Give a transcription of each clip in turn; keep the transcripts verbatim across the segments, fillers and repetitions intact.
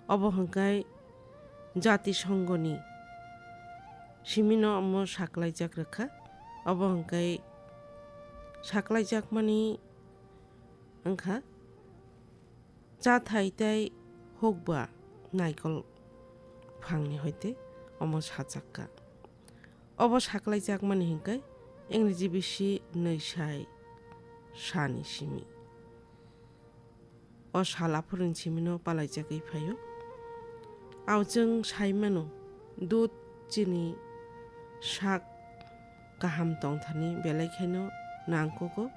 Obo hwnkhe Jatisongoni simino omo saklaijak rwkha. Obo hwnkhe saklaijakmani wngkha chathai tei hukba naikol phangni hoite omo sajakka. Obo saklaijakmani hwnkhe Ingreji bisi nwi sai sani simi. O sal aphuruni simino palaijagwi phaio. Ao chwng sai mano, dud chini sak kaham tongthani belai kheno nangkukgo,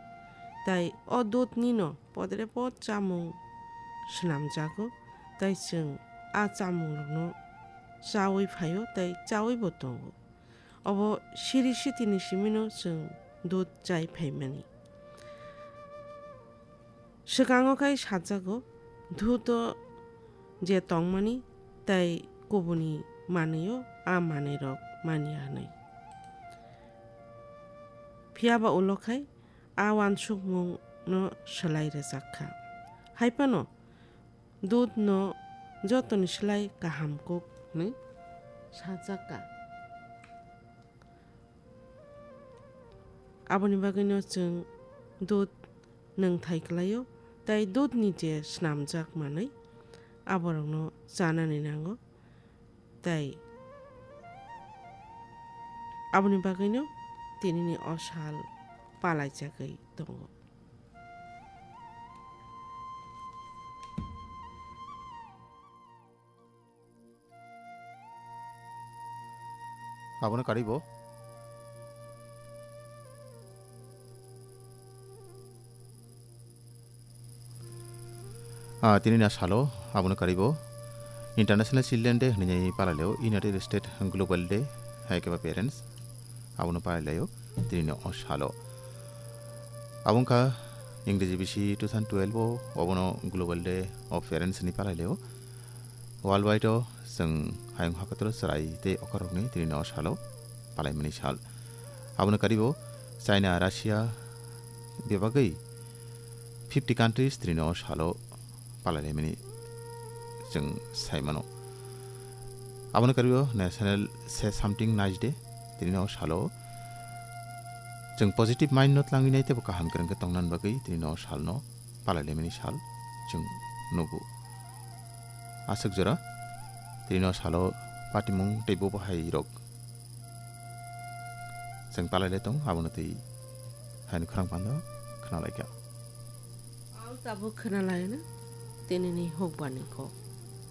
tei o dudnino podrepot chamung swnamjago, tei chwng a chamungrokno chaui phaio tei chaui bo tongo. Obo siri sitini simino chwng dud chai phaimani. Swkango khai sajago, dudo je tongmani tei kubuni manwio a manwirok manya hwnwi. Phiya ba ulo khai a uansukmungno swlai rwjak kha. Hai phano dudno jotoni slai kaham kuk hwnwi sajakka. Aboni bagwino chwng dud nwngthai kwlaio, tei dudni je snamjak manwi, aborokno chanani nango, tei aboni bagwino tinini o sal palaijagwi tongo. Abono karwi bo. Ah, tini na salo, abono karwi bo. International Children Day hwnwi palai laio, United States Global Day, hai khe ba parents, abono palai laio, tini no o salo. Abo wngkha Ingreji bisi two thousand twelve o, obono Global Day of Parents hwnwi palai laio. Worldwide o chwng hayung hakatro chwrai tei okorokni tini no salo palaimani sal. Abono karibo China, Russia bebagwi fifty countries tini no salo palailaimani chwng sai mano. Abono karibo National Say Something Nice Day tini no salo chwng positive mind no tlangwi nai teibo kaham kwrwng khe tongna bagwi tini no salno palailaimani sal chwng nugo. Aswk jora tini no salo patimung tei bubahairok chwng palailai tong, abono twi haino khorang panda khwnalaikha. Ang tabuk khwnalaino tinini hukbani kok.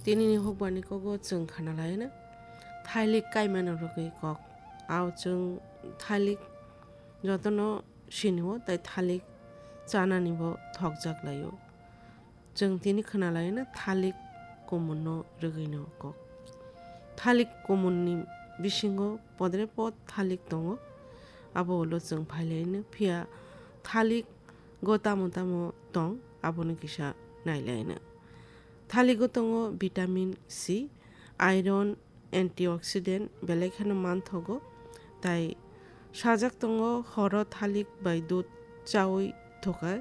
Tinini hukbani kogo chwng khwnalaino thailik kaimano rwgwi kok. Ao chwng thailik jotono sinio tei thalik chananibo thokjak laio. Chwng tini khwnalaina thalik kumunno rwgwino kok. Thalik kumunni bisingo podre pod thalik tongo. Abo ulo chwng phailaino, phiya thalik go tamo tamo tong, abono kisa nailaino. Thaligo tongo vitamin C, iron, antioxidant belai kheno manthogo, tai sajak tongo horo thalik bai dud chaui thokai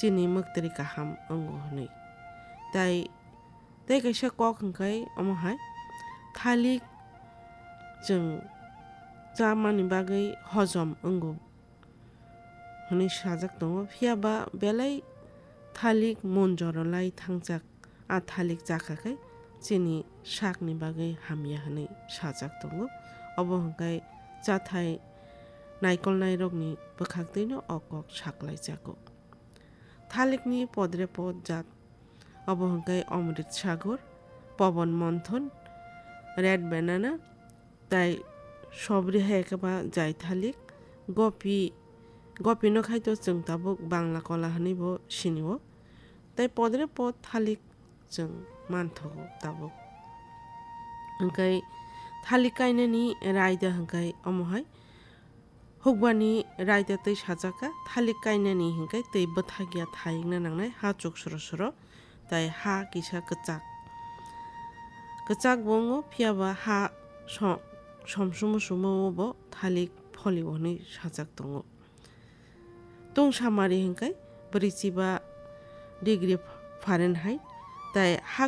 chini mwktwri kaham wngo hwnwi. Tai tei kaisa kok hwnkhe omo hai thalik chwng chamani bagwi hojom wngo hwnwi sajak tongo, phiya ba belai thalik monjoro lai thangjak. A thalik chakha khe chini sakni bagwi hamya hwnwi sajak tongo. Obo hwnkhe chathai naikolnairokni bwkhaktwino o kok saklaijago. Thalikni podre pod jat, obo hwnkhe Omrit Sagur, Pobon Monthon, Red Banana, tai sobri hai khe ba jai thalik, gopi, gopi no khai to chwng tabuk Bangla kola hwnwi bo sini o. Tai podre pod thalik chwng manthogo tabuk. Hwnkhe thalik kainani raida hwnkhe omo hai hukbani raida twi sajak kha, thalik kainani hwnkhe twi bwthak ya thayungna nangnai ha chuk soro soro. Tai ha kisa kwchak. Kwchak bo wngo, phiya ba ha so-, som sumo sumo o bo thalik pholio hwnwi sajak tongo. Tungsamari hwnkhe brwichiba degree Fahrenheit, tai ha